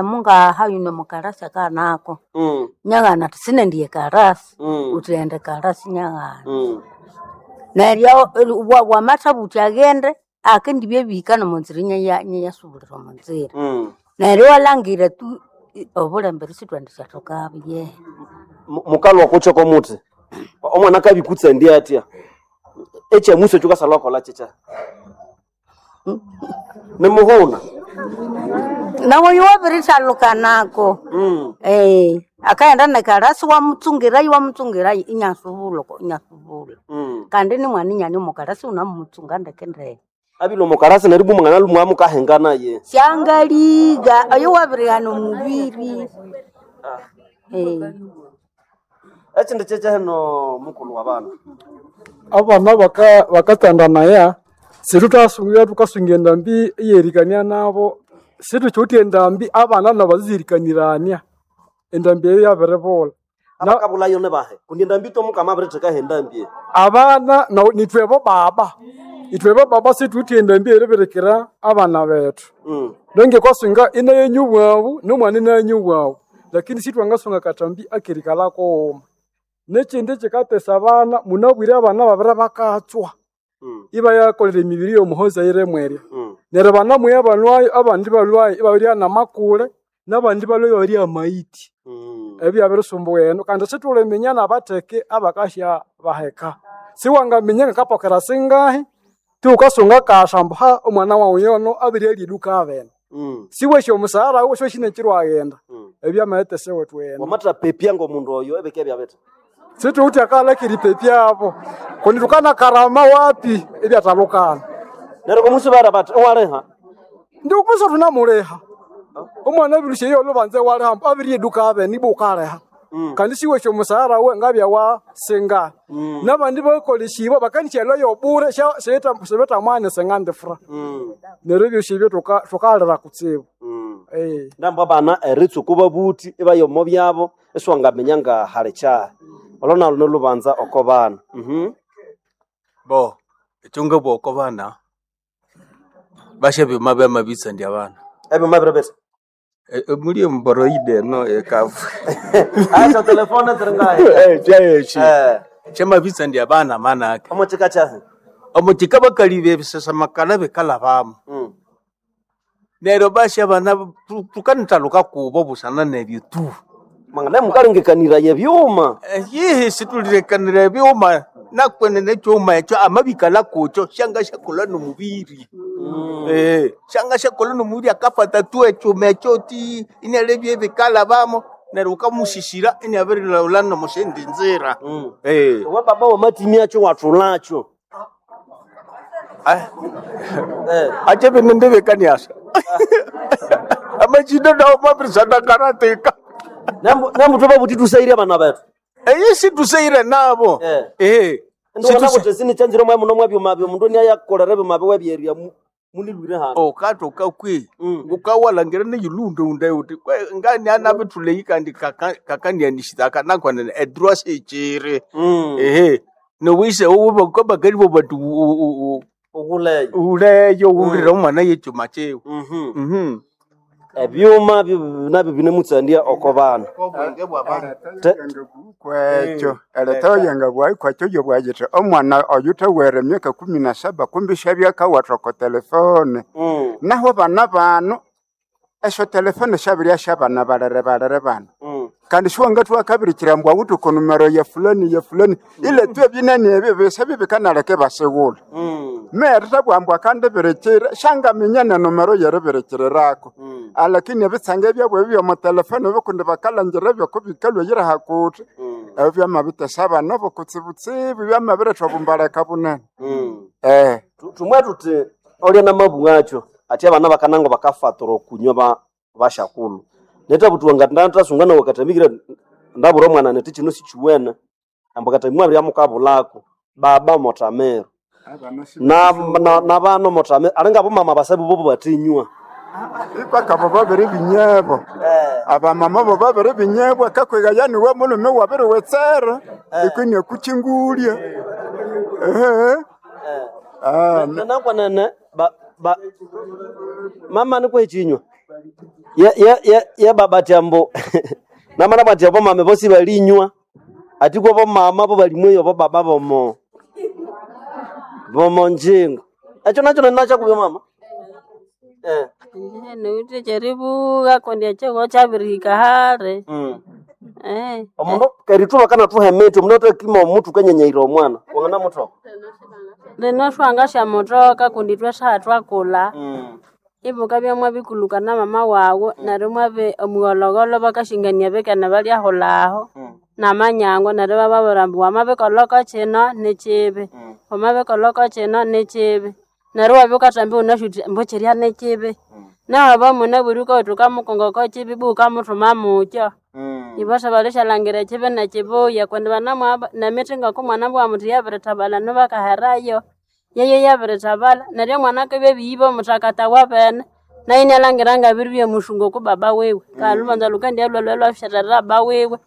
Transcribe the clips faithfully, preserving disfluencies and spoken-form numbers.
Mungaha yuno mukarasi akanako Mm. nyaghana ati sinendiye karasi Mm. uthi ende karasi nyaghana Mm. neryo wa- wamatha buthi aghende akendibya ebihika nomonzira inyayasubulira omonzira Mm. neryo walhangira tu i- obulembere sithwendisyathokabwo yehe Mu- Mukalwa kucho komuti. Omwana akabikutsa ndi atya. Ekyamuso ekyo kasalwa kola kyecha. Nimuhuna. nawoyo wabirithalukanako Mm. eh akaghenda nekarasi wamutsungirayo wamutsungirayo inyasubula inyasubula Mm. kandi ni mwana inyani omukarasi unamutsunga ndeke ndeke Abilo mukarasi neryo bumangana lumwa mukahengana ye. syangaliga oyo wabirighana omubiri eh Ekindi kyekya hino mukulu wa bana. Abana baka bakatsandanaya situthasunga thukasunga endambi eyerikania nabo situkyotya endambi abana nabo bazizirikanirania endambi eyo yabiribulha Na- Abakabulayo ne bahe. Kundi endambi tomukama abirithekaho endambi. abana no- nithwebo baba ithwebo baba situwithe endambi eribirikira abana bethu Mm. nonge kwasunga inayenyu bwabu nomwana inayenyu bwabu lakini sithwangasunga katambi akerikalha kughuma nekindi kikatesa abana munabwire abana babiri bakatswa Mm. ibayakolera emibiri yomuhoza yiremwerya Mm. neryo banamuya balwayo abandi balwayo ibabirya namakule nabandi balwayo ibabirya amaiti Mm. ebyo byabirisumbuwa eno kandi sithuliminya nabatheke abakasya baheka siwangaminya ngakapokera singahi tiwukasunga kasha ambu ha omwana wawu yono abiryalya eduka abene Mm. siwesya omusahara wuwe siwesya nekiro aghenda Mm. ebyamayetesa ewethu eno Wamatha pepya ngomundu oyo ebike byabetha. situwithe akalakira ipepyabo kundi tukanakarama wapi ebyathalukana Neryo komusubara bathi owaleha. ndikubusa thunamuliha omwana abirisya iyo olubanza waliha ambu abirya eduka abene ibo ukaliha Mm. kandi siwesya omusahara we ngabya wa singa Mm. nabandi bakolesibwa bakanisya yobure sibeta mwana singandifura Mm. neryo ebyosi ebyo tuka- tukalira kutsibu Mm. Eh. Ndamba abana eritsuku babuthi ibayomo byabo esiwangaminya nga hali kyahi. Olwo nalwo nolubanza oko bana. Mhm. Bo ekyo ngabugha oko bana basya ebyuma byamabitsandya abana Ebyuma biri bithi. E- e- muli emboroide eno ekavu Acha telefone ziringahi. kyekyi Eh. kyamabitsandya abana manake Omo kika kyahi. omukika bakaliba ebisasamakala bikalhabamu Mm. neryo basya abana tu- tukanithaluka kubo busana nebyo tu Mangana mukalengekanira yebyuma. Eh, yihi situlirekanira ebyuma nakwenene ekyuma ekyo amabikala kukyo syanga syakolha nomubiri Mm. Eh, syanga syakolha nomubiri akafata tu ekyuma ekyo ti inialebya ebikalhabamo neryo wukamusisira iniabirilhaghulha nomusindi nzira Mm. Eh. We baba wamatimia kyo wathulakyo. Ah, Eh. ache binendebekaniasa amachinda nawo mabirisandakaratika Nambu nambu tubabuthi tusaire abana bethu. eyi situseire nabo Eh. Eh, Ndibona situse- kuti sinichanzire mwe muno mwebyuma byo mundu niayakolera ebyuma byo webyerya munilwire hano. okatoka kwi Mm. ngukawalhangira neyilunde uti kwe- ngani anabithuleyi kandi kakanianishitaka nakwanene edrwa sechiri Mm. ehe nowise bakali bo bati u- u- Ukuleyo. u- uleyo uwulire omwana yechuma kyewe Mhm. Mhm. Ebyuma byo- nabyo binemutsandia oko bana. Obwenge bw'abana Te- kwekyo eritoyenga bwayi kwekyo yobwayithe omwana oyu thawere emyaka kumi na saba kumbi syabyakawatha oko telefone Mm. naho bana bano esyo telefone syabirya syabana balere balere bano Mm. kandi siwangathuwa kabirikira mbwa awithe oko numero ya fulani ya fulani ile tu ebinene ebyo bisa bibikanaleka ibasighulha Mm. merithabwa mbwa akandibirikira syangaminya nenomero yeribirikirirako Mm. alakini ebitsanga ebyabo ebi byomutelefone bikundi bakalhangira ebyokubikalwa hakuthi Mm. ebyo byamabitesa abana bokutsibutsibu byamabiretha obumbaleka bunene Mm. eh Tu- Tumwe tuti olya namabunga akyo ati abana bakanango bakafatura okunywa ba bashakulu. Netabutuwa nga ndathasunga nawe katamikira ndabura omwana neti kino sikiwene. Ambu katamimwa abirya mukabulako. Baba motamero. abana si- Na na nabano motamero. Alinga abomama basabu bobo batinywa. ipakabo babiri binyebo Eh. abamama bo babiri binyebwa akakwega yani we mulume wabiriwetsera ikwinia kuchingulya ehe Eh. Ah, Nakwanene ba ba mama nikwe chinywa. Ye ye ye ye baba tyambo namana bwati abo mame bosi balinywa ati kwa bomama bo balimweyo bo baba bomo bomo njingo ekyo nakyo ninakya mama eh Niwithe kyeribuya kundi ekyihugho kyabirihika hali. mm. Eh. Omundu kerithuba kanathuha emiti omundu atakima omutu kanyenyeire omwana wangana muthoka Lino thwangasyamutoka kundi ithwe saha thwakulha mm. ibukabya mwabikulhuka na mama wawu neryo mwabi omugholhogholho bakashingania bikene balyahulhaho Mm. namanyangwa neryo ibababwira ambu wamabikolhako kino nikibi Mm. wamabikolhako kino nikibi neryo iwabya wukathamba iwunasi wuthi ambu kirya nikibi nawe munabwire wukawithe wukamukongoko kibi ibwa wukamuthuma mukyo Mm. ibo sibalithashalhangira ekibi nekibuya kundi banamwaba nemithi ngoku omwana bwawu muthi yabirithabalha enu bakaherayo yeyo yabirithabalha neryo omwana akabya abiyiba omuthakatha wabene nayo inalhangira ngabiribya musungu oku baba wiwe kandi lhubanza lhukandyalhwa lhwasyathera baba wiwe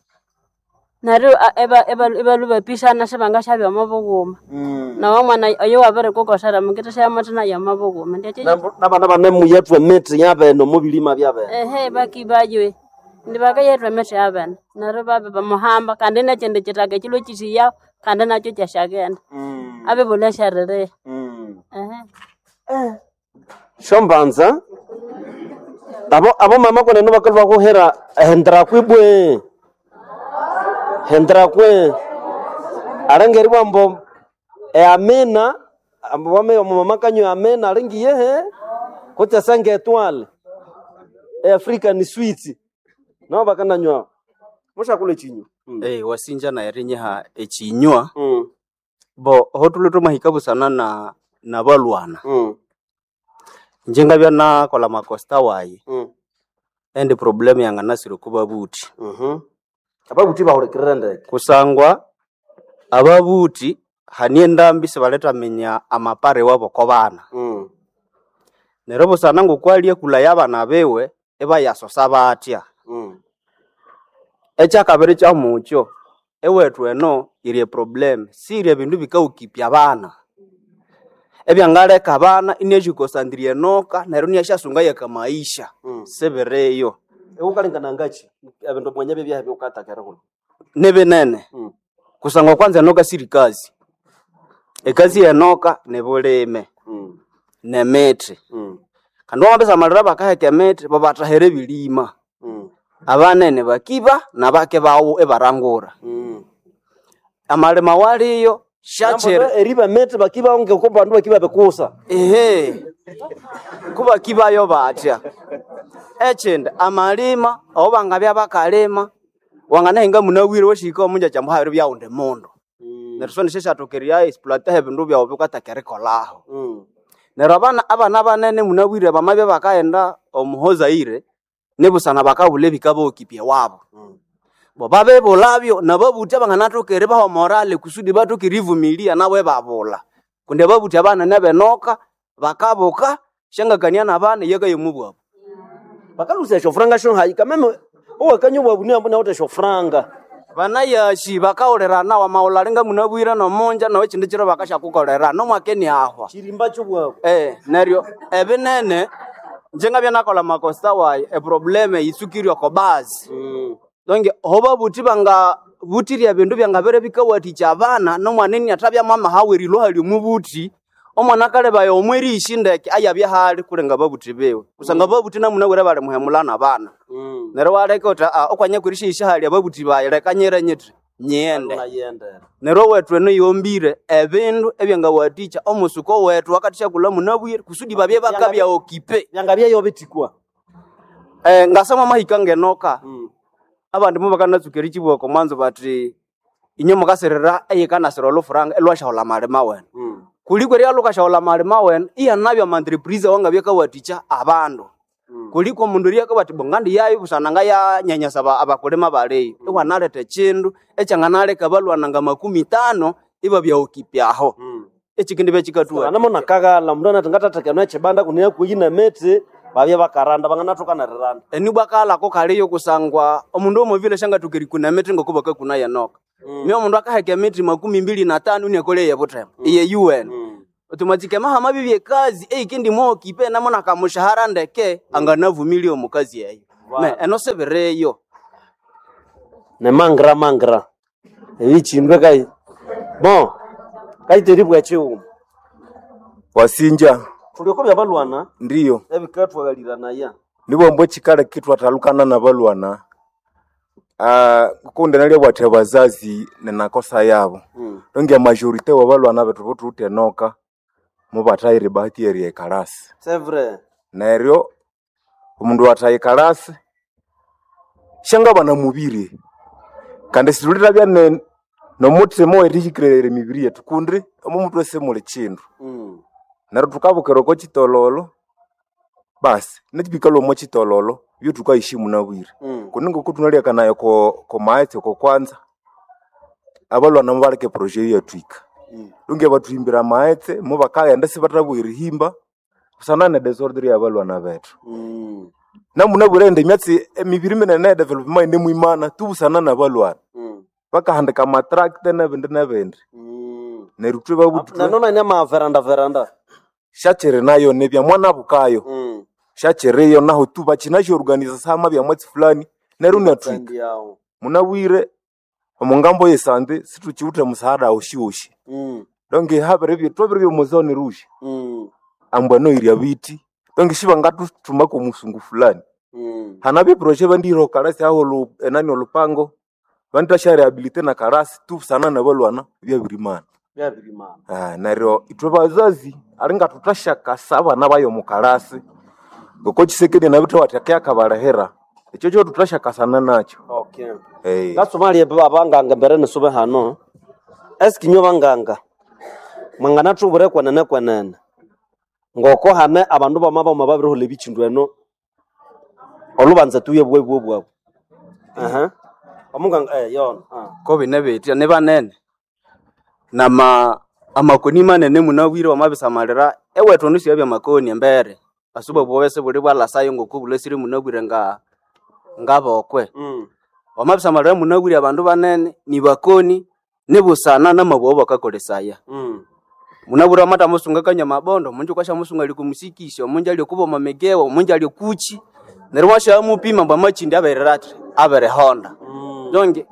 neryo a- iba- iba- ibalhwa ibapisana sibangasyabya omo bughuma Mm. nawe omwana oyo wabirikukosera mukithasya muthi nayo omo bughuma ndyakyi Nabana banemuyathwa emiti yabene omu bilima byabene ehe bakibaywe ndi bakayethwa emithi yabene neryo babe bamuhamba kandi nekyindi kyithaka ekilwa kyithiyaho kandi nakyo kyasyaghenda mm. abibulha esyaririha mm. ehe Shombanza abo abo mama kwenene bakalwa kuhera hendera kwibwe hendera kwe alengeri bwambo eamina ambo wame omumama kanyo amina alengiye he kutya senge etwale e African sweets nabo bakananywa mushakule chinyu mm. Eh, wasinja naye rinyiha ekinywa mm. bo aho thulwe thwamahika busana na nabalwana mm. inje ngabya nakolha makosta wayi mm. endi problem yanganasire oko babuthi mhm ababuthi bahulikirira ndeke kusangwa ababuthi hani endambi sibalethaminya amapare wabo oko bana mm. neryo busana ngokwalya ekulha abana biwe ibayasosa batya mm. ekyakabiri kyamukyo ewethu eno yiri eproblem siri ebindu bikawukipya abana ebyangaleka abana iniasyikosandira enoka neryo iniasyasunga yakamaisha mm. sibiriyo Eukalingana ngachi ebindu mwanya byebyaha byukatakera kuno nibinene mm. kusangwa kwanza enoka siri kazi ekazi yenoka nibulime mm. nemithi mm. kandi wamabisamalira bakaheka emithi babathahira ebilima mm. abanene bakiba nabake bawo ibarangura mm. amalima waliyo syakyiri eriba mete bakiba onge ko bandu bakiba bekusa ehe kubakibayo batya ekindi amalima aho bangabya bakalima wanganahinga munawire washika omunja kyamuhabiri byawundi mundu neryo so nisyo exploita ebindu byawu bikataka erikolaho mm. neryo abana abana banene munabwire bamabya bakaghenda omuhozaire nibusana bakabulha ebikabawokipya wabo mm. bo babibulhabyo nababuthi abanganathoka eribaha morale kusudi bathoke erivumilia nabo ibabulha kundi ababuthi abanene benoka bakabuka syangakania nabana iyakaya omubwabu bakalusa eshofuranga shonhayi kameme owakanya obwabu niambo nawutha eshofuranga banayashi bakawulirana wamawulha nga munabwire nomunja nawe ekindi kiro bakasyakukolera nomwaka iniahwa chirimba chobwabu Eh, neryo ebinene inje ngabya nakolha makosa wayi eproblem yitsukire oko bazi mm. donge aho babuthi bangabuthiria ebindu byangabere bikawathikya abana nomwana iniathabya mwamahawa erilwa hali omubuthi omwana akalebaya omwerishi ndeke ayabya hali kulenga ababuthi biwe kusanga ababuthi namunabwire bali muhemula nabana mm. neryo waleka uthi "Ah, okwanya kwerishihisha hali ababuthi bayi leka nyire nyithi nyiyende nayendera neryo owethu eno yombire ebindu ebyangawathikya omusuko wethu wakathisyakulha munabwire kusudi babye bakabya okipe byangabya bitikwa eh, ngasama mahika ngenoka mm. abandi mubakanatsuka erikyibwako mwanzo bathi inye mukasirira eyikanasira olufuranga elwasyaghulha amalima wene mm. kuliko eryalhukasyaghulha amalima wene iyanabya amantreprise wangabya kawathikya abandu mm. kuliko omundu eryakabati bo ngandiyayo busana ngayanyanyasa aba- abakulima baliyo iwanaletha ekindu ekyanganaleka abalwana nga makumi tano ibabya okipyaho mm. ekikindi byekikathuwa anamo nakaghala mundu anati ngatathekana echibanda kuno yakuyina miti babya bakaranda banganathoka neriranda enibwa kalako kaliyo kusangwa omundu omuvile syangathoka erikuna emithi ngoko bakakuna yenoka mm. myo omundu akaheka emithi makumi mbili na tano iniakolya eyebuthema iye yuwene mm. Automatique mahama bibye kazi eikindi mwokipe namo nakamushahara ndeke anganavumilia omukazi eyo. Me eno sebireyo. Ne mangra mangra ebichindwe kai bon kaiteribwa chiuma Wasinja tulioko bya balwana ndiyo ebikatwaghalira nibombo chikala kitwatalukana na balwana uh, kundi nalya bwathe bazazi nenakosa yabo mm. donge majorite wa balwana bethu botutenoka mubathaire bahati eri ekalasi C'est vrai. neryo omundu wathaye kalasi shangabana mubiri kandi situlithabya ne nomuthima werihikirere emibiri yethu kundi omo mutwe simuli chindu Mm. neryo thukabukira oko chitololo basi nechibikalwa omo chitololo byo thukayishimu nabwire Mm. kundi ngoku thunalyakanayo ko ko maghetse ko kwanza abalwana mubaleke proje yatwika Mm. lunge bathuhimbira amaghetse mubakaghenda sibathabugha erihimba busana ne desordre yabalwana bethu Mm. namunabwire indi emyatsi emibiri minene e development nemwimana tubusana nabalwana Mm. bakahandika amatractor nebindi nebindi Mm. neryo ithwe babuthwe Nanona ine ma veranda veranda. syakiri nayo nibya mwana bukayo Mm. syakiriyo naho tu bakinasyorganiza sama bya mwatsi fulani neryo inatwika Sendi yao. munabwire omungambo yesande situkiwuthe musaada woshiwoshi Mm. donge habiri twabiri byomuzone rouge Mm. ambwa noirya biti donge shibangatuthumako musungu fulani Mm. hanabye proje bandiro kalasi aho lu, enani olupango bandasha rehabilite na kalasi tubusana nabalwana byabirimana Byabirimana. ah, neryo ithwe bazazi alinga tutashakasa abana bayo mukalasi ngoko chisekedi nabithe watheke akabalehera ekyo kyo tutashakasana nakyo Okay. hey. Ngasoma abanganga mbere nisube hano. Eski nyo banganga. Mwanganathubure kwenene kwenene. Ngoko hane abandu bama bama babirihola ebichindu eno. Olubanza tuye bwe bwe bwabo. Aha. Omunganga eh yona. Ah. Ko bine bitya ni banene. Nama amakoni manene munabwire wamabisamalira ewethu nusu yabya makoni embere. Asuba bwobese buli bwalasayo ngoku bulesire munabwire nga ngabokwe. Mm. Wamabisamalira munabwire abandu banene ni bakoni nibusana namabwo bakakolesaya. Mm. Munabwire amata musunga kanya mabondo, munju kwasha musunga ali kumusikisha, munju ali kuba mamegewa, munju ali kuchi. Neryo washa mupima mbwa machindi abererati, aberehonda. Mm. Donge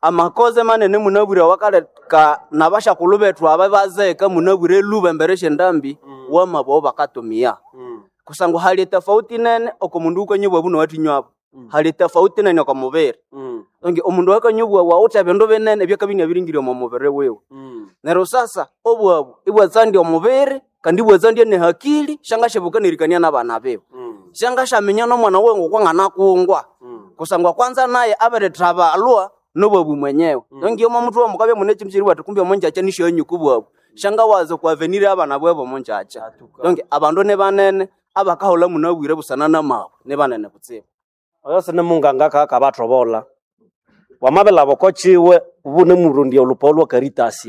amakoze manene munabwire wakaleka nabashakulhu bethu aba bazeka munabwire luba embere syendambi Mm. wamabwo bakatumia. Mm. Kusangwa hali tofauti nene oko mundu ukanyubwa buno watinywabo. Mm. Hali tofauti nene oko mubiri. Mm. Donge omundu akanyubwa wawutha ebindu binene ebyakabya biringire omo mubiri wiwe. Mm. Neryo sasa obwabu ibwatsandya omubiri kandi ibwatsandya nehakili shangashabuka nerikania nabana biwe. Mm. Shangashamenya nomwana wiwe ngokwang'anakungwa. Mm. Kusangwa kwanza naye abirithabalwa nobwabu mwenyewe. Mm. Nongi omo muthu wamukabya mune chimchiri wati kumbe omunjacha nishonyuku bwabu. Shanga waza kwavenire abana bwebo omunjacha. Atuka. Donge abandu nibanene abakahola munabwire busana namabu nibanene butsibu. Oyo sine munganga kakabathobola. Wamabelaba okochiwe ubune murundia olupa olwa Caritas.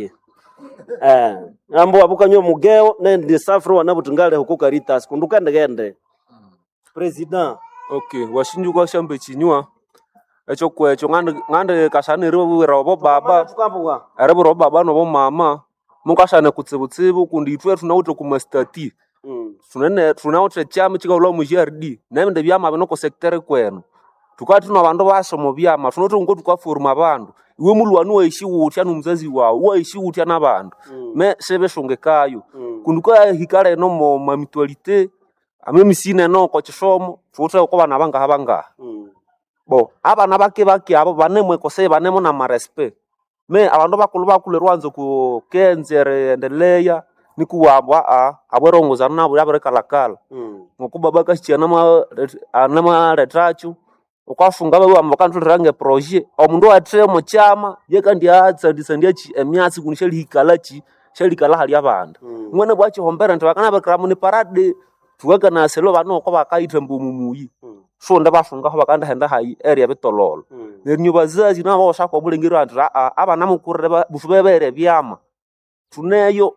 Eh, ambo abukanywa mugeo nendi safari wanabuti ngale huko Caritas kundu kende President. Okay, washinjuka shambe chinywa ekyo kwekyo ngandi ngandi kashana eribwira obo baba Tukambuwa. eribwira obo baba nobo mama mukashana kutsibutsibu kundi ithwe thunawithe kumastati Mm. thunene thunawithe ekyama kyikahulha mu G R D nebindi byama bino ku sector kwenu thukabya thune abandu basa omu byama thunawithe ngo thukaforma abandu iwe mulhwani wayishi wuthya nomuzazi wawu wayishi wuthya nabandu Mm. me sibishungikayo Mm. kundi ukahika leno mo mamitualite amemisine eno oko kisomo thuwithe oko bana bangaha bangaha Mm. bo abana bake bake abo banemwekoseye banemo namarespect me abandu bakulhu bakulhu erwanza ku kenza eriendeleya nikuwabwa aa abwerongozana nabo yabirikalakala Mm. ngoku baba akasikia namalethacho ukafunga babiwamba bakantholera ngeproje omundu owathe omukyama yekandi atsandisandyachi emyatsi kundi syalihikalhachi syalikalha hali abandu Mm. mwene bwachihombera nti bakanabikira muni parade thukakanaselo banu oko bakayitha mbu omumuyi Mm. sonde basungaho bakandahenda hayi eri ebitololo Mm. neryo bazazi nabo bashaka omulengeri ati aa abana mukurire ba- busu bebere ebyama thuneyo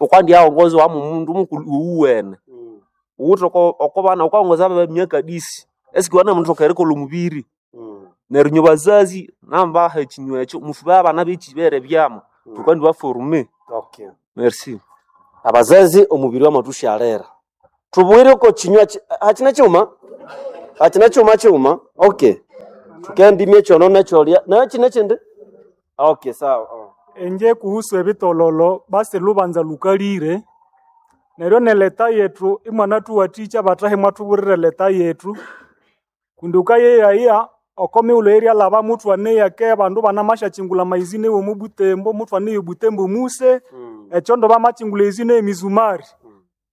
ukwandi aongozi wa mumundu mukulu uwene Mm. uwuthe oko oko bana ukaongoza abe myaka disi esiki wana mundu erikolha omubiri Mm. neryo nyo bazazi nambaha ekinywa ekyo mufu abana bekibere ebyama Mm. thukandi baforume Okay. merci. Abazazi omubiri wamathushalira. Tubwire ko chinywa chi- hachina chuma? Hachina chuma chuma? Okay. Tukendimye chono necholya. Nayo chine chindi? Okay, sawa. Oh. Enje kuhusu ebitololo basi lubanza lukalire neryo neleta yetu imwanathuwathikya bathahi mwathuburira leta yetu kundi ukayeyaya oko mighulhu eryalhaba muthwaneyake abandu banamasyakingula amaizine womu Butembo muthwaneya Butembo muse ekyondo bamakyingula ezine emizumari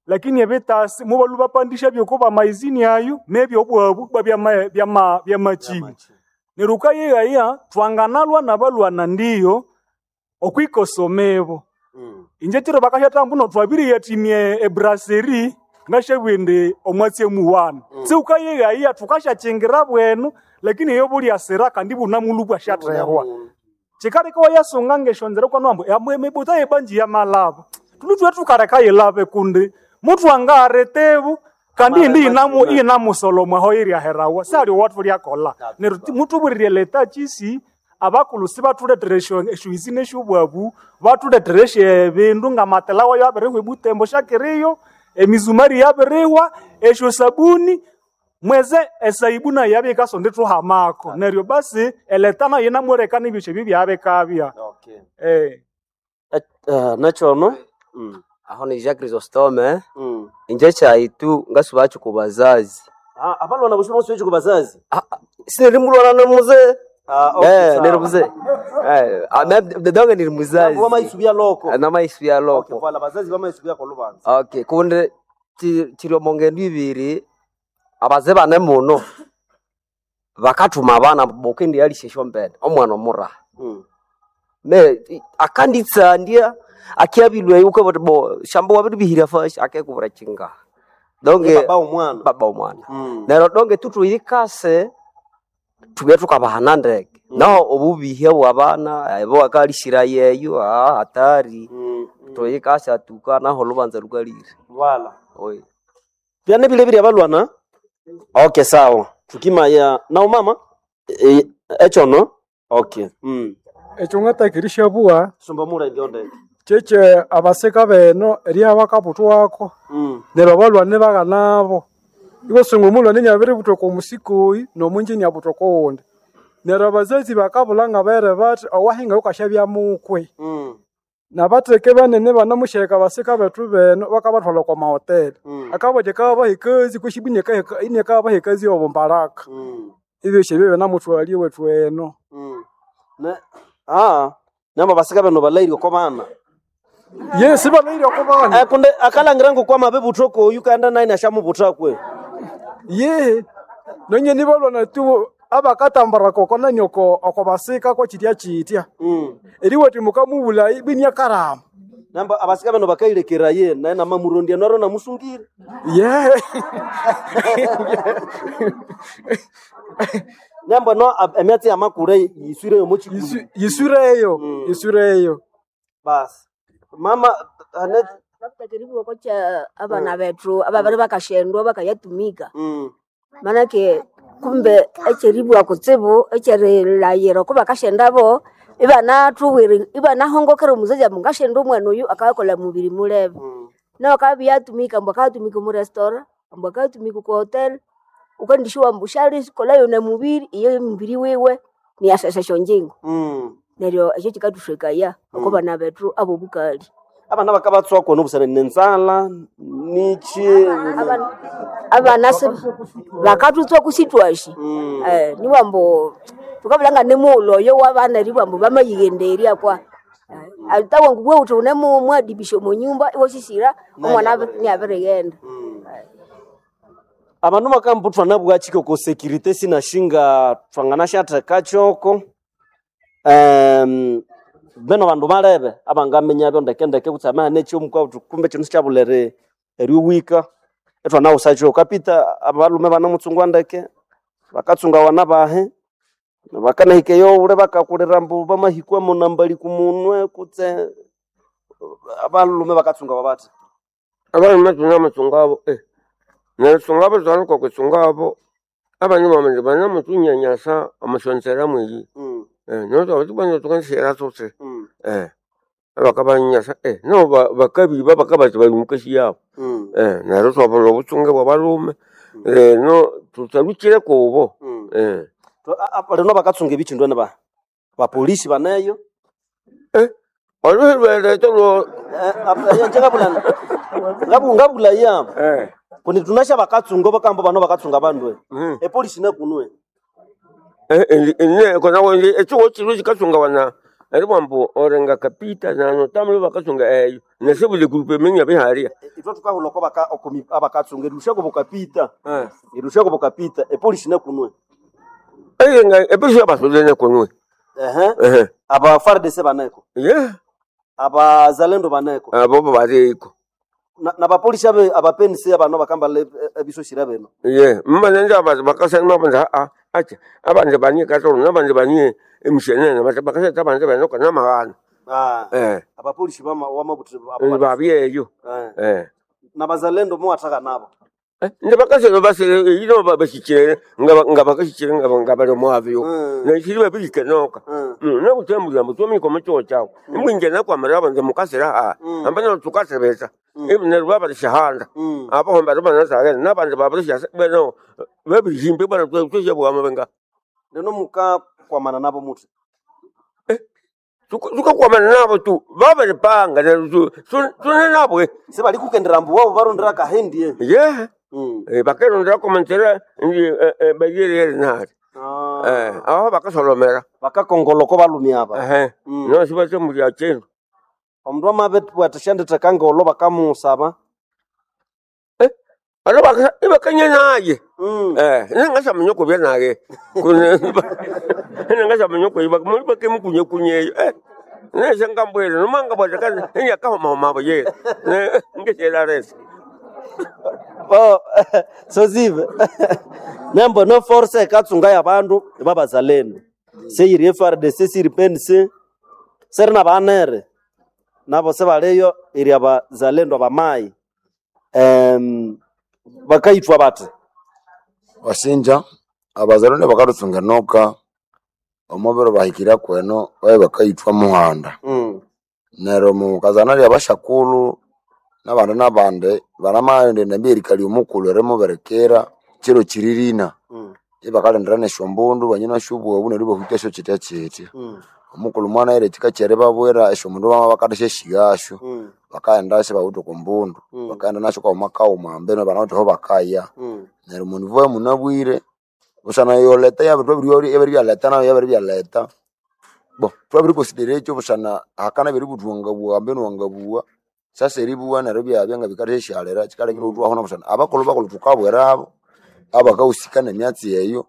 lakini ebitasi mubalhwa bapandisya byoko bamaizini ayo nebyobwabu bwa byama- byama- byamakyima neryo ukayeyaya thwanganalwa nabalwana ndiyo okwikosomebo inje kiro bakashatamba mbuno twabiriyathimya ebraseri ngashabugha indi omwatsi emuwana siwukayeghaya thukashakyingira bwenu lakini eyo bulyasira kandi bunamulhu bwashathehwa kikaleka wayasunga ngesyonzera kwanu ambu ambu emibuta yebanji yamalaba thulhu thwe thukaleka yilabe kundi muthu angaretebu kandi indi yinamu yinamusolomwa aho yiryaherawa sali owathu lyakolha neryo ti- muthuburirye leta kyisi abakulhu sibathulethere esyo esyoizi nesyobwabu bathulethere esyebindu ngamatela wayo abirihwa ebutembo syakiriyo emizumari yabirihwa esyo sabuni mweze esaibu nayo yabya yikasonda ithuhamako neryo basi eleta nayo yinamwerekana ebyosyo ebyo byabikabya Okay. eh. Uh, nechono? Mm. Aho ni Jacques Chrysostome Mm. inje kyaitu ngasubacho ku bazazi Ah, abalwana bosi bosi ku bazazi. Ah, ah, sinirimulwana nomuze Ah, okay, eh sawa. nirimuze eh ah, me- donge niri muzazi Nambu bamaisubya loko. namaisubya Okay, loko voilà, bazazi bamaisubya ko lubanza. okay kundi ti- tiri omo ngendo ibiri abaze bane muno bakathuma abana bokendialisya esyombene omwana omuraha Mm. me akanditsandya akyabilwe ukabati bo shamba wabiribihira fashi akekubura chinga Ye donge baba omwana. baba omwana Mm. neryo donge tutuyikase tubye tukabahana ndeke Mm. naho obubihya bwabana ebo akalishira yeyo ah, hatari Mm. Mm. tuyikase atuka naho lubanza lukalire Voilà. oye Byane bile bili abalwana? Okay, sawa. Tukimaya na umama e, echono? Okay. Mm. Ekyo ngatakirisya bugha Sumba mura ndio kyekye abasika beno erya bakabuthwako Mm. neryo abalhwani baghanabo iwasunga omulhwani inabiributha oko musikoyi nomunji inabutha oko wundi neryo abazazi bakabulha ngabere bathi owahinga wukasyabya mukwe Mm. nabatheke banene banamusyaheka abasika bethu beno bakabathwalha okwa mahoteli Mm. akabathi akabaha ekazi kweshibu inekabaha ekazi yobumbaraka Mm. ebyosi ebyo binamuthwalya ewethu eno Mm. Ne ah, namba basika bano balairi ko bana. yesi balaire oko bana Eh kunde akalangira ngo kwama bebutho ko Uganda naine ashamubutha kwe. yehe nonyeni balwana tu abakatambara koko nani oko oko basika ko chitya chitya Mm. eriwati mukamubula ibinya karama Namba abasika bano bakailekera ye naye namamurondia naro namusungire. ye Namba no ab- emyatsi yamakure yiswire yo muchikulu. Yisu- yisureyo Mm. yisureyo Bas. Mama ane Babutakiribu kocha abana bethu ababiri bakashendwa bakayatumika mm. manake kumbe ekyeribwa kutsibu ekyerilayira oko bakashendabo ibanathuwiri ibanahongokera omuzazi ambu ngashenda omwana oyu akayakolha mubiri mulebe Mm. nawe akabya yatumika ambu akayatumika omu restaurant ambu akayatumika oku hotel ukandishuwa ambu syalikolhayo nemubiri iyo emubiri wiwe niyasesa esyonjingo Mm. neryo ekyo kikathuthekaya oko Mm. bana bethu abobukali Abana bakabatswa kona obusana nenzala nichi abana abana se bakathutswa kusitwashi Mm. eh niwambo tukabulanga nemulo oyo wabana riwambo bamayighenderya kwa atawangu bwe uthi unemu mwadibisha omunyumba iwasisira omwana niabirighenda Mm. Abandu bakambuthwa nabwachiko ko security sinashinga thwanganashatheka choko um beno bandu balebe abangamenya byo ndekendeke kutsi amahane ekyomukwa uthi kumbe kino sikyabulere eriwika ethwanawusa kyoko kapita abalume banamutsungwa ndeke bakatsunga wana bahe bakanahika eyowule bakakulira mbu bamahikwa munambali kumunwe kutse abalume bakatsunga babathi abalume tunamutsungabo eh neritsungabo twaluka kutsungabo abandu bamene banamutunyanyasa omusyonzera mweyi mm, eh noto tubanza tukansera tsotse mm. eh Abakabanyasa eh no ba- bakabiba bakabati bali mukasi yabo. Mm. Eh neryo twabula obutsunge bw'abalume. Leno tutalukire kubo. Eh. Tu- a- a- Lino bakatsunga ebichindu ene ba bapolisi baneyo. Eh olwelweleto lwo Njengabulana. Ngabu ngabula ya. Eh. Kundi tunasha bakatsunga bakambo bano bakatsunga bandu. Mm. Epolisi nakunwe. Eh ene kona wenje ekiwo kiro kikasunga wana ari bwambu orenga kapita nano tamule bakasunga eyo nesebule group emenya biharia. Itwe tukahula ko baka okomi abakatsunga erushako bukapita. Eh. Erushako bukapita epolisi nakunwe. Eyenga epolisi abasolene kunwe. Ehe. Eh. Aba F A R D C baneko. Yeah. Abazalendo baneko. Abo bariko. Na, na bapolisi abe abapenisi abano bakamba ebisoshira beno. Ye, mmanenje abantu bakasana mabanja a acha abanje banye katolo nabanje banye emshenene bata bakaseta abanje banoka namahana. Ah. Eh. Abapolisi bama wamabuthi abo Babyeyo. Eh. Eh. Nabazalendo muwathaka nabo. Nde bakaselo basele ino babashikire nga nga bakashikire nga nga bali mwavyo. Na shiri babike noka. Na kutembula mutumi ko mucho chao. Imwinge na kwa maraba nze mukasira ha. Ambana tukasebeza. Ibu ne rwaba shahanda. Abo homba rwaba na sare nabanje babrisha beno babijimbe bana tweshe bwa mabenga. Lino muka kwamana nabo muthi. Tukakwamana nabo tu babaripanga tune nabo Sebali kukendera mbu wabo barondera kahendie. Yeah. Eh bakerondera komentera ndi bayerere nari. Eh aho bakasolomera. Bakakongoloko balumi aba. Eh. No sibaze muri achindu. Omundu amabetwa shanditheka ngolo bakamusaba. Eh alo baka ibakanye naye. Eh ningasha munyoko bya naye. Kune ningasha munyoko iba muri bakemukunye kunye. Eh neshe ngambwele nomanga bwatakana inyakahoma mabo ye. Ne ngeshela resi. Oh, sozive. Nembo no force ekatsunga yabandu babazalendo. Seyiri F R D C siri P N C seri nabanere nabo sebaleyo iri abazalendo abamai um, bakaitwa bati Wasinja abazalendo bakatutsunga enoka omubiro bahikira kweno babe bakaithwa muhanda mm. neryo mukazana lya bashakulhu nabandi nabandi banamaghenda endambi erikali omukulhu erimubirikira kiro kiririna Mm. ibakalindira nesyombundu banyina syobwobu neryo ibahutya syo kitya kitya Mm. omukulhu mwanayira ekika kyeribabwira esyomundu bama bakadasyasigasyo Mm. bakaghenda sibawithe oko mbundu Mm. bakaghenda nasyo kaghuma kaghuma ambeno banawithe aho bakaya Mm. neryo munivo munabwire busana yoleta yabiribyaleta nayo yabiribyaleta bo twabirikonsidera ekyo busana hakana biributhwa ambeno wangabuwa sasa eribuwa neryo byabya nga bikathasyalira kikalekera utwahuna busana abakulhu bakulhu thukabwirabo abakahusika nemyatsi eyo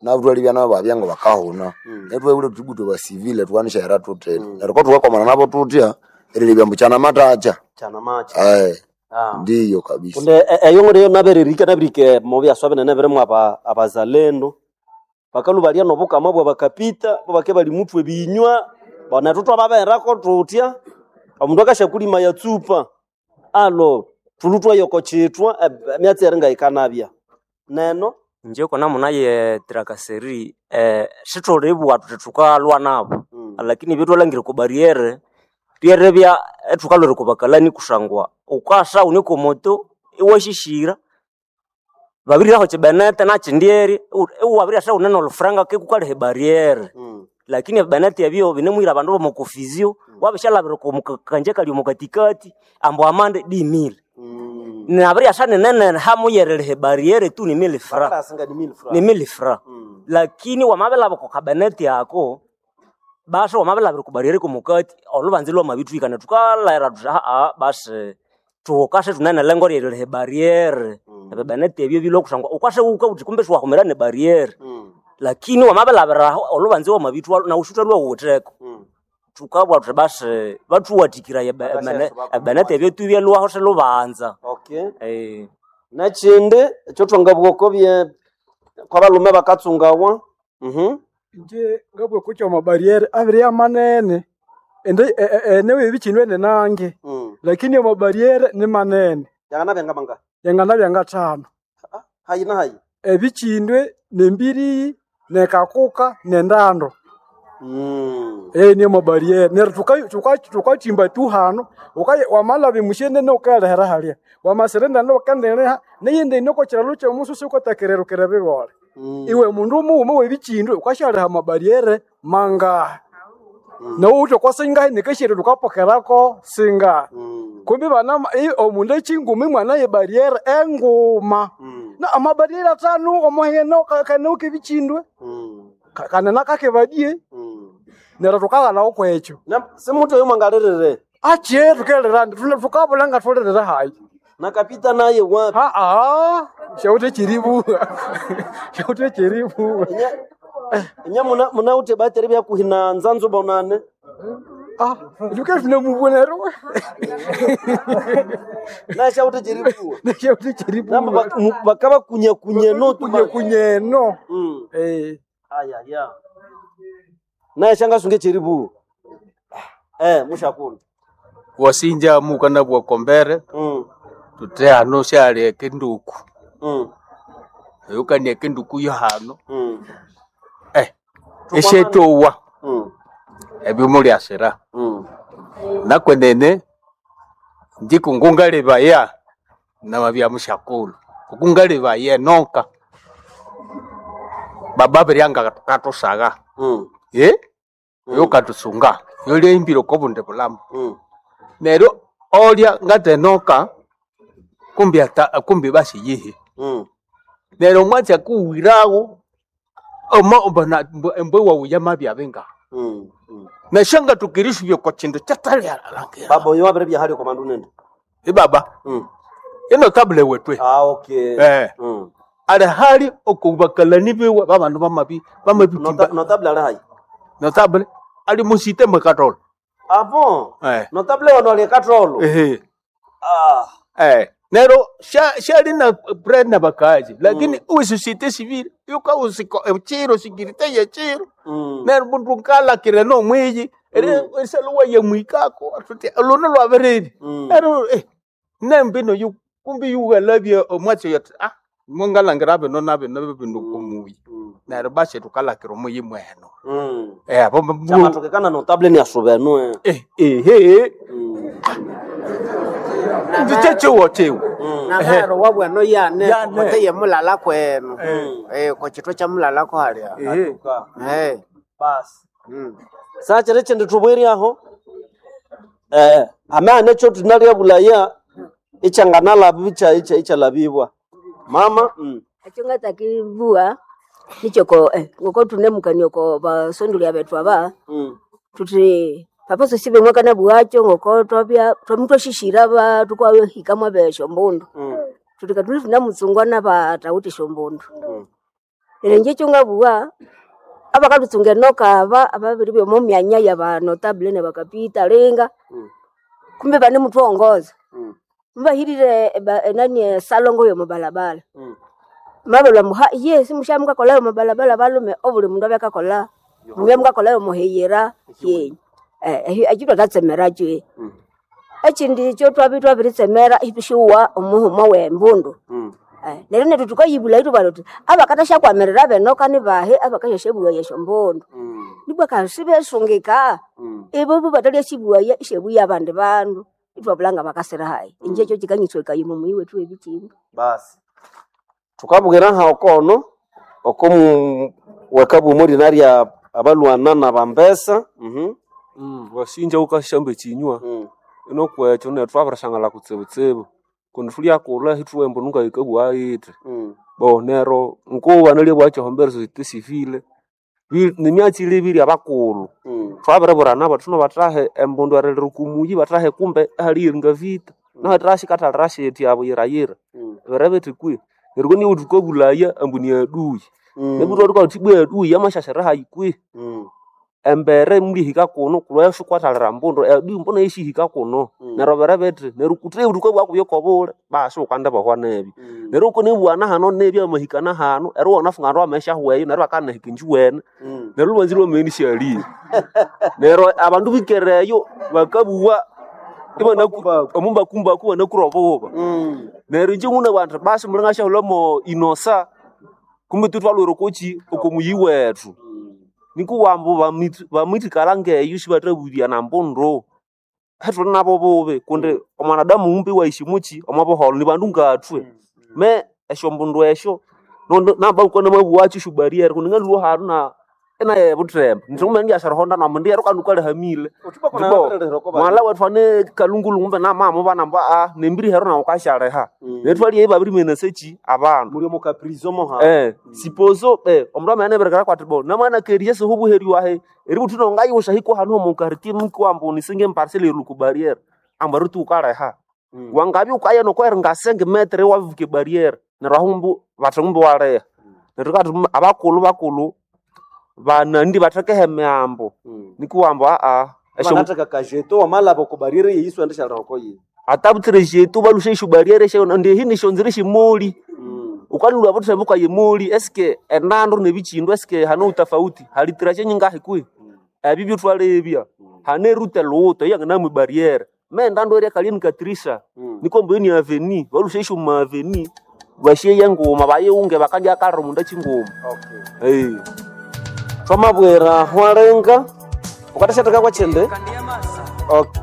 nabo twalibya nabo babya nga bakahuna neryo twabwire thuthi ibwa basivile thukanisyaghera thuthina neryo kothukakomana nabo thuthya erilebya ambu kyanamathacha Kyanamacha. eh Ah. ndiyo kabisa Kunde eyo ng'oreyo nabererika nabirike mubyaswa binene birimu aba abazalendo bakalu balya nobukama bwa bakapita bobake bali mutwe binywa bona twatwababerako tutya omundu akashakulima yatsupa alo thulutwa yoko chitwa emyatsi eri ngayikanabya neno Inje kona munaye trakaseri eh sitholibwa thuthi thukalwa nabo lakini ebyethwalhangire oko barriere ryerebya ethukalwera oko bakalani kusangwa wukasa wune oko moto iwashishira babiriraho kyibenete nakyindyeri iwabiryasa wune nolufuranga kekukalha ebarriere lakini ebibenete ebyo binemuhira abandu bomo kofizio wabishalhabira oko kanje kali omo katikati ambu amande dimile nabiryasa ninene hamuyereriha ebarriere tu ni mille francs Bakarasinga ni mille francs. ni mille francs lakini wamabilhaba oko kabenete ako basi wamabilhabira oko barriere komukati olubanza lwamabithwikana thukalhaghira thuthi aa basi thuwukase thune nelengo ryeririha ebarriere ebibenete ebyo bilwa kusangwa wukase wuka wuthi kumbe siwahumira nebarriere lakini wamabilhabiraho olubanza lwamabithwa nawu sithwalwa wuwitheko thukabugha thuthi basi bathuwathikiraya ebenete ebyo tubyalwaho silubanza Okay. Eh. Nekindi ekyothwangabugha oko bye kwabalume bakatsungawa mhm Inje ngabugha kuki amabarriere abiri manene ende enewe ebikindu ene nange lakini amabarriere ni manene yanganabya ngamanga yanganabya ngathano hayi na hayi ebikindwe nembiriyi nekakuka nendando Mm. Eh ni mabariere neryo tuka- tuka- tukachimba tu hano ukaye wamalaba emushenene ukalehera halya wamasirendana ukandireha neyindi inoko kiralo kyomususu ukotakererukira bigole iwe mundu mughuma webikindu ukashaleha amabariere mangahi nowuthi oko singahi nikashiri tukapokerako singahi kumbi bana i- omundu ekinguma imwana yebariere enguma na amabariere atano omuheno kaneuka ebikindwe Ka- kanena kakebadie neryo tukaghanawo kwekyo simuthi oyo mwangalirire ache tukelera tukabula nga thulirire hayi nakapita naye wapi aa shauthi chiribuwa shauthi chiribuwa inya muna munawuthe bateri byakuhina nzanzu bonane ah tuke tunemubonero nashauthi chiribuwa nashauthi chiribuwa namba bakabakunyakunya no kunyakunya mm. eh aya ya naye shangasunge chiribuwa eh mushakulu wasinja mukana bwakombere mm. tute hano syali ekinduku mm. eyukania ekinduku yo hano mm. eh esyetowa mm. ebyo mulyasira mm. nakwenene ndikungungalebaya namabya mushakulu kukungalebaya enonka baba biryanga katusaga mm. ye oyo katusunga yolya imbiro kobundi bulamu mm. neryo olya ngatenoka kumbi ata kumbi basi yihi mm. neryo omwatsi akuwirawo omo mbona embwe wawuya mabyabe nga mm. mm. nashanga tukirishubye kwa chindu kyatalialangira baba oyo wabere byahali kwa mandu nende ibaba mm. ino tabule wetwe ah okay eh mm. ali hali okubakalani biwe babandu bamabi bamabitimba notable ali hayi notable ali musite mwekatolo ah bon eh notable wano ali katolo ehe ah eh nero shali na bread na bakaji lakini mm. ususite civile yuka usiko chiro sikirite ye chiro mm. nero bundu nkala kire no mwiji ere esaluwa ye mwikako atuti luno lwabereri mm. nero eh nembino yu kumbi yugalabye omwatsi yot ah mungalangira bino na bino bino kumuyi nero bashe tukalakira omuyi mweno mm. eh abo chamatokekana notable ni asubenu eh eh ehe ndichechiwo chiwo nabaro wabwano yane Yane. kote ye mulala kwenu eh ko chitwe cha mulala ko halya eh basi sachiri chindi tubwiri aho eh amana cho tunalia bulaya ichanganala icha icha ichalabibwa mama mm. Ekyo ngatakibua nikyoko eh, ngoko tunemukania oko basondulia bethu aba mm. tuthi papa sosibe mwakana bwacho ngoko twabya twamutwashishira ba tukwahika mwabesho mbundu mm. tuthi katuli tunamutsungwa nabatawuthi shombundu mm. neryo inje ekyo ngabugha abakatutsunga enoka aba ababiri byomo myanya ya banotable nebakapita linga Mm. kumbe banemuthwongoza Mm. mubahirire eba- enani esalongo yomubalabala Mm. mabalwa muha ye simushamukakolayo mubalabala balume obuli mundu abyakakola mubya mukakolayo muheyera yenyu eh ekyo twathatsemerakyo Mm. ekindi ekyo twabya twabiritsemera itushuwa omuhuma wembundu Mm. Eh, neryo nethu tukayibulha ithubalha thuthi abakathasyakwamira benoka nibahi abakasyasyabugha esyombundu Mm. nibwa kasi besungika Mm. ibo bo batalyasyibugha isyabuya abandi bandu ithwabulha nga bakasira hayi inje ekyo kikanyitsweka muyi wethu webikinga basi tukabwira ha okono okomu wekabumo linarya abalwana na bambesa mhm Mm, wasinja ukashamba ekinywa mm. inokwekyo nethu twabirishangala kutsibutsibu kundi thulyakulha hithuwa embunu ngayikabugha yithi Mm. bo nero nkuba nalya bwakyahombera société civile Bi- nimyatsi ilebirye abakulhu Mm. twabiriburana bathuno bathahe embundu erilira kumuyi bathahe kumbe ahaliyiringa vita nahathashikathalira shiti abo yirayira Mm. bere bithi kwi neryo niwe thukabulaya ambu ni aduyi Mm. nebuthwa thukathi bwa aduyi amashashira hayi kwi Mm. embere mulihika kuno kulwa shikwathalira mbundu aduyi mbona yeshihika kuno Mm. neryo bere bithi neryo kuthi thukabugha kubyo kobule basi ukanda bahwa nebi Mm. neryo ukanibwana hano nebi amahikana hano eri wanafunga ndu amesha hweyo neryo bakanahika injiwene Mm. neryo lwanzi lwameni syaliyo neryo abandu bikereyo bakabuwa omumbakumbaku banakura obuba Mm. neryo inje muna bantu basi mulingashahulomo inosa kumbe tutwalwire okochi okomuyi wethu Nikuwambu bamwithikala ngeyo sibathabulya nambundu. Hetuli nabo bubi kundi omwanadamu mumbi waishimuki omo buholho ni bandu ngathwe. Me esyombundu esyo namba namabughacho esyo barriere kundi ngalhwa hanu na inaye buthemba nithungumene ndyasyaruhonda nomundu yeru kandi wukalihamile. Ndipo mwala wethu ane kalungulungu mbe namamubana ambu aa nembiri heru nawu wukasyaliha. Neryo ithwalyeyo ibabirimenasya kyi abandu. Muli omo kaprizo moha. Eh, sipozo eh omundu amabya inabirikira kwati bo namanakerya siho obuheri wahe eributhu nongayiwusha hiko hanu omu quartier mukiwambu nisinge emparcel erilwa oku barriere ambu eritu wukaliha. Wangabya wukaya nokweringa sengimetere iwabibuka ebarriere neryo ahu mbu bathi ngumbi iwaliha. Neryo thukabugha thuthi abakulhu bakulhu banandi bathekeho emihambo nikuwambu aa esyo Banatheka kajeto wamalaba oko barriere yeyi isiwendishyalira oko yiyi. atabutsire jetu balusha esyo barriere esyo ndi ehi nisyonzira esyemoli. Wukalhwa obuthemba wukaye emoli eske enandu nebikindu eske hane utafauti hali traje nyingahi kwihi? Ebyo byethwalebya. Hane erute lhuwuto eyanginamwa ebarriere. Me endandu eryakalya nikatirisa nikwa ambu eyo ni avenue balusha esyo mu avenue basyeya nguma bayighunge bakandyakalira omundu kyinguma. Okay. Thwamabwira hwalenga, wukathasyatheka kwakyindi? Okay.